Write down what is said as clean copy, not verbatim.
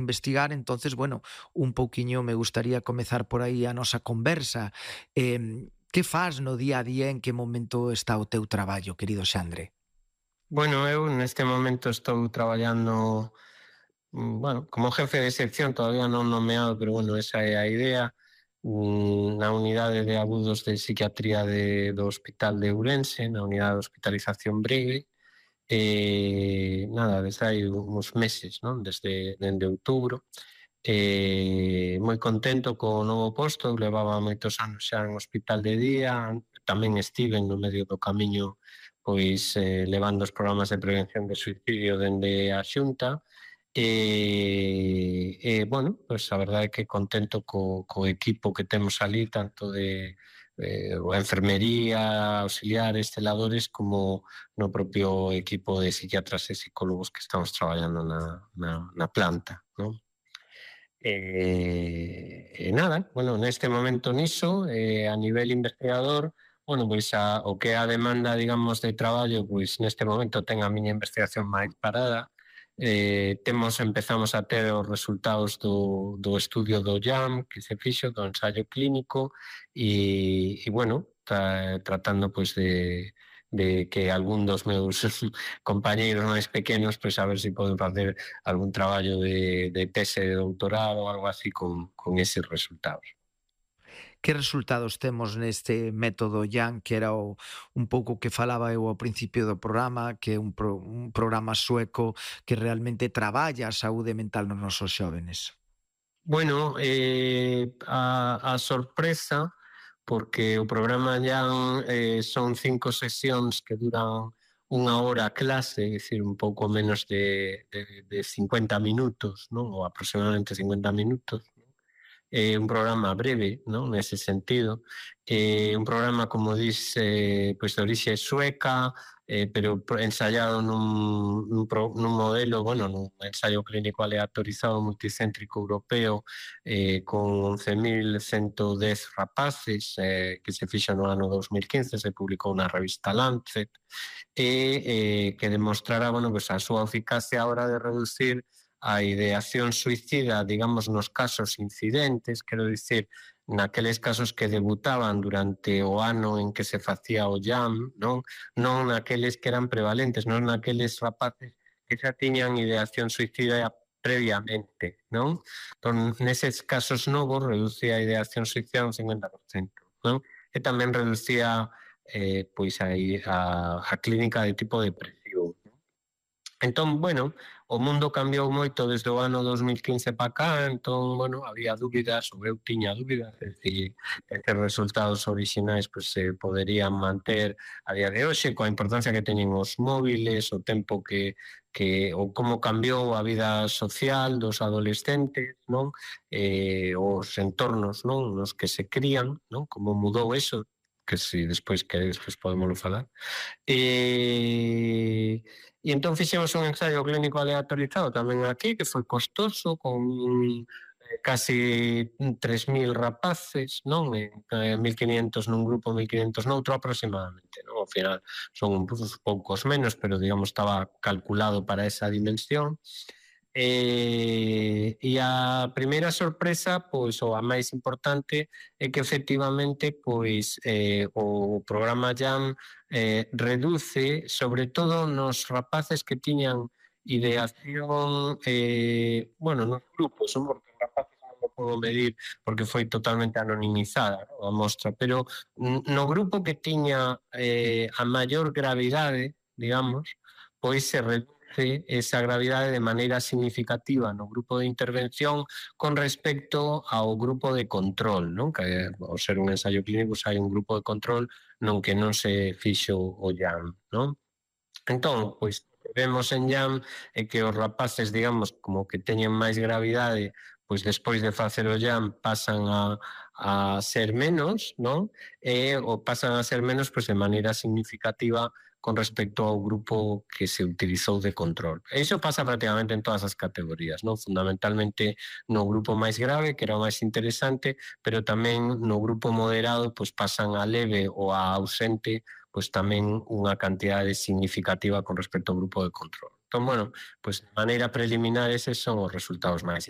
investigar, entonces, bueno, un pouquiño me gustaría comezar por aí a nosa conversa. Que fas no día a día, en que momento está o teu traballo, querido Xandre? Bueno, eu neste momento estou traballando, bueno, como jefe de sección, todavía non nomeado, pero bueno, esa é a idea, na unidade de agudos de psiquiatría do Hospital de Ourense, na unidade de hospitalización breve, nada, desde hai uns meses, non? Dende outubro, moi contento co novo posto, levaba moitos anos xa en hospital de día, tamén estiven no medio do camiño pois levando os programas de prevención de suicidio dende a Xunta bueno, pois a verdade é que contento co equipo que temos ali, tanto de a enfermería, auxiliares, celadores, como no propio equipo de psiquiatras e psicólogos que estamos traballando na planta, non? Nada, bueno, neste momento niso, a nivel investigador, bueno, pois o que é a demanda, digamos, de traballo, pois neste momento ten a miña investigación máis parada. Empezamos a ter os resultados do estudio do JAM que se fixo, do ensaio clínico, bueno, tratando pois de que algún dos meus compañeiros máis pequenos, pois a ver se poden facer algún traballo de tese de doutorado ou algo así con eses resultados. Que resultados temos neste método Young, que era un pouco que falaba eu ao principio do programa, que é un programa sueco que realmente traballa a saúde mental nos nosos xóvenes? Bueno, a sorpresa, porque o programa Young son 5 sesións que duran unha hora a clase, é dicir, un pouco menos de 50 minutos, non? Ou aproximadamente 50 minutos. Un programa breve, non? Nese sentido, un programa, como dis, pois de orixe sueca, pero ensaiado nun modelo, bueno, nun ensaio clínico aleatorizado multicéntrico europeo, con 11.110 rapaces, que se fixo no ano 2015, se publicou na revista Lancet, que demostrara, bueno, pues a súa eficacia a hora de reducir a ideación suicida, digamos, nos casos incidentes, quero dicir, naqueles casos que debutaban durante o ano en que se facía o JAM, non naqueles que eran prevalentes, non naqueles rapaces que xa tiñan ideación suicida previamente, non? Entón, neses casos novos reducía a ideación suicida un 50%, non? E tamén reducía pois a clínica de tipo depresivo. Entón, bueno, o mundo cambiou moito desde o ano 2015 para cá, entón, bueno, había dúbidas, ou eu tiña dúbidas, de si estes resultados orixinais pues, se poderían manter a día de hoxe, coa importancia que teñen os móviles, o tempo ou como cambiou a vida social dos adolescentes, non? Os entornos, non? Nos que se crían, non? Como mudou eso, que si despois queredes, pues podémoslo falar. E entón fixemos un ensaio clínico aleatorizado tamén aquí, que foi costoso, con casi 3.000 rapaces, non? 1.500 nun grupo, 1.500 noutro aproximadamente, non? Ao final son uns poucos menos, pero digamos estaba calculado para esa dimensión. E a primeira sorpresa, pois, ou a máis importante, é que efectivamente, pois, o programa JAM reduce, sobre todo nos rapaces que tiñan ideación, bueno, nos grupos, non? Porque os rapaces non o podo medir porque foi totalmente anonimizada, non? A mostra, pero no grupo que tiña a maior gravidade, digamos, pois se reduce esa gravidade de maneira significativa no grupo de intervención con respecto ao grupo de control, non? Que ao ser un ensaio clínico hai un grupo de control non que non se fixo o JAM, non? Entón, pois, o que vemos en JAM é que os rapaces, digamos, como que teñen máis gravidade, pois despois de facer o JAM pasan a ser menos, non? Ou pasan a ser menos pois, de maneira significativa con respecto ao grupo que se utilizou de control. E iso pasa prácticamente en todas as categorías, non? Fundamentalmente no grupo máis grave, que era o máis interesante, pero tamén no grupo moderado pois pasan a leve ou a ausente pois tamén unha cantidade significativa con respecto ao grupo de control. Entón, bueno, pois de maneira preliminar eses son os resultados máis interesantes.